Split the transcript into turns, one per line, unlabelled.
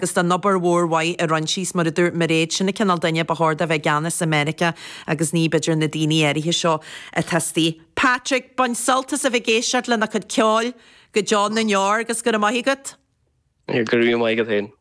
Agus don obair mhór mhaith a rinne sí, 's mar a dúirt Mairéad, sin an cineál duine ba chóir do bheith i gceannas i Meiriceá agus ní b'fhéidir na daoine áirithe seo atá istigh. Patrick, bain sult as a bheith ag éisteacht lena cuid ceoil go deo na ndeor agus go raibh maith agat.
Go raibh maith agat féin.